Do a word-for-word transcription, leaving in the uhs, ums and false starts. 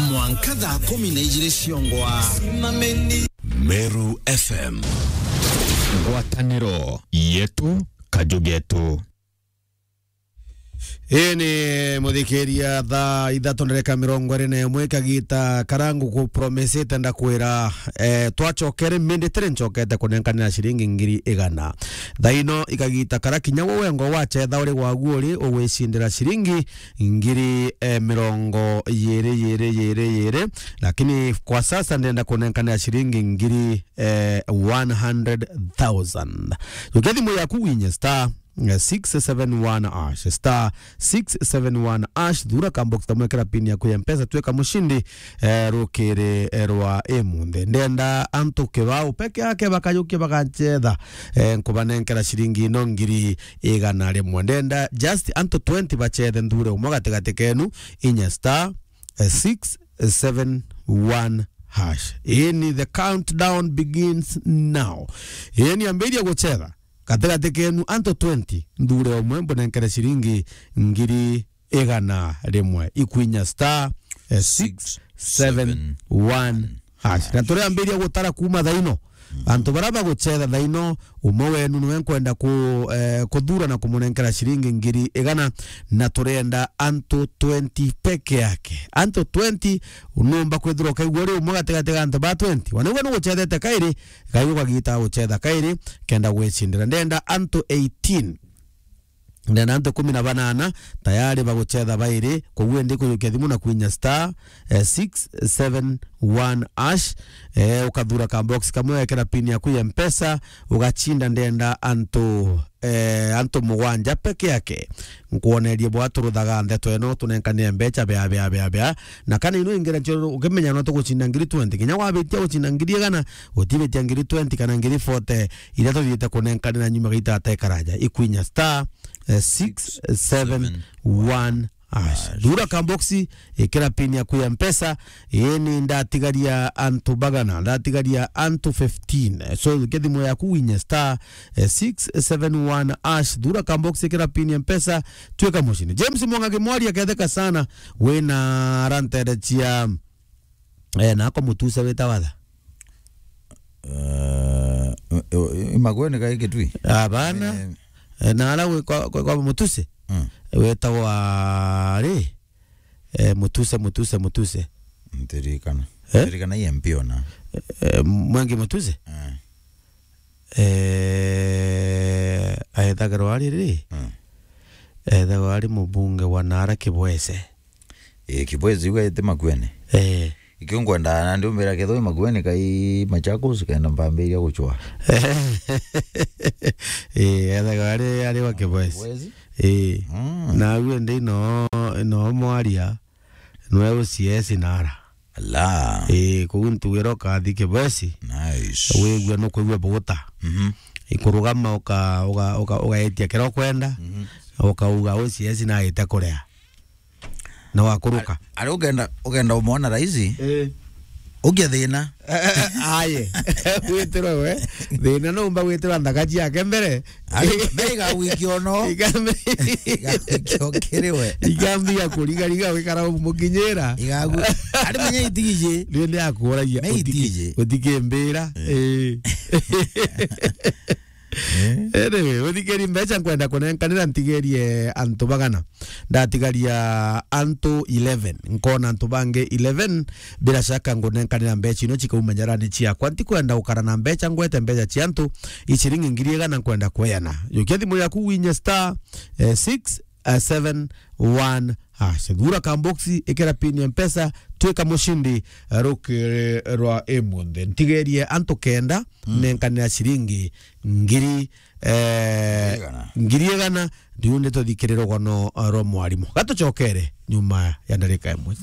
Mwanka thaa kumi na ijiri ciongwa. Meru F M. Ngwataniro yetu, kaju getu. Ii ni muthikiria, thaa ithatu ndereka mirongo iri na imwe, kagita karia ngukupromesete ndakwira, eh, twacokere, minditire ncokete kunenkanira ciringi ngiri igana. Thaa ino ikagita karia kinya we wengwa wacetha uri gwagu uri ugwicindira ciringi ngiri, eh, mirongo yiri, yiri, yiri, yiri. Lakini kwa sasa ndenda kunenkanira ciringi ngiri, eh, one hundred thousand. Jukia thimu yaku winye star, eh, six seven one hash, star six seven one hash, thura ka box kamwe, kira pin yaku ya Mpesa, twika mushindi, eh, rukiri, eh, rwa imunthe. Ndenda antu kibao peke yake bakayukia bagacetha, eh, nkubanenkera ciringi ino ngiri igana rimwe. Ndenda just antu twenty bacethe, nthure umwe gatigati kenu, inya star, eh, six seven one hash. Ii ni the countdown begins now. Ii ni ambiria gucetha gatigati kenu antu twenty, nthure umwe mbunenkere ciringi ngiri igana rimwe, ikwinya star, eh, six seven one hash. Na turiambiria gutara kuuma thaa ino. Antu baria bagucetha thaa ino, umwe wenu niwe nkwenda ku-, eh, kuthura na kumunenkera ciringi ngiri igana, na turenda antu twenty peke yake. Antu twenty, unumba kwithirwa ukaigua uri umwe gatigati ga antu ba twenty. Wanaigua nugucethete kairi, gai ugagita gucetha kairi, kenda gwicindira. Ndenda antu eighteen. Ndenda antu kumi na banana tayari bagucetha bairi, koguo indi kuyukia thimu na kwinya star, eh, six seven one hash, eh, ukathura ka box kamwe, wekera pin yaku ya Mpesa, ugacinda. Ndenda antu, eh, antu mugwanja peke yake. Nkwonerie bwa turuthaga ndeto ino, tunenkanire mbecha bea, bea, bea, bea. Na kana ino ingere ncio ukimenya no tugucinda ngiri twenty. Kinya wabitia gucinda ngiri igana, utibitia ngiri twenty kana ngiri forty, iria tuthiite kunenkanira nyuma gaita atekaraja. Ikwinya star, eh, six seven one hash. Thura ka box, ikira pin yaku ya Mpesa, ii ni ndatigaria antu bagana, ndatigaria antu fifteen. So, ke thimu yaku winye star, eh, six seven one hash. Thura ka box, ikira pin ya Mpesa, twika mushindi. James Mwangangi Mwari aketheka sana, wina arantere cia Eh, nako Mutuse wita watha? Eh, i Makueni kai Kitui? Abana. Eh. Eh, na ara gwi kwa, kwa, kwa Mutuse? Mm. Wetagwa ri? Eh, Mutuse, Mutuse, Mutuse. Ntirikana. Eh? Ntirikana i M P ona. Eh, Mwengi Mutuse? Eh. Eh, aethagirwa ari ri? Mm. Ethagirwa ari mubunge wa nara Kibwese. Ii, Kibwezi ugaite Makueni. Eh. Ikio ngwenda na ndiumbira ketho i Makueni kai Machakos kenda mpambiria guchwa. Eh, ethaga ari, ari wa Kibwezi. Kibwezi? Eh. Mm. Na uwe ndi no, no mwaria, nwe uciesi nara. Ala. Eh, kuu ntugira ukathi Kibwezi. Nice. Wigua nukwigua buguta. Mhm. Ikurugama uka, uka, uka, ugaetia kira ukwenda. Mhm. Ukauga uciesi naite kuria. Na wakuruka. Ari ugenda, ugenda umwona raisi? Eh. Ugia thina. Aye. Witirwe we. Thina no umba witirwa nthaka ciake mbere. Ari, me igagwikia ono. Iga-, igagwikia okiri we. Igambia kuriga riga wikara umukinyira. Igagu-, ari menya itiji. Riu ni akuragia. Me itiji. Utikimbira. Eh. Eh. Eh? Anyway, uthikiri mbeca nkwenda kunenkanira ntigerie antu bagana. Ndatigaria antu eleven. Nkona antu bangi eleven. Bila shaka ngunenkanira mbeca ino cikauma nyarani ciakwa. Ntikwenda gukara na mbeca ngwete mbeca cia antu. I ciringi ngiri igana nkwenda kweana. Jukia thimu yaku winye star, eh, six, eh, seven one hash. Thura ka box, ikira pin ya Mpesa, twika mushindi, eh, rukiri rwa imunthe. Ntigerie antu kenda, mm, nenkanira ciringi ngiri, eh, ngiri igana. Ngiri igana, riu nituthikire rugono, eh, rwa mwarimu. Gatucokere nyuma ya ndarika imwe.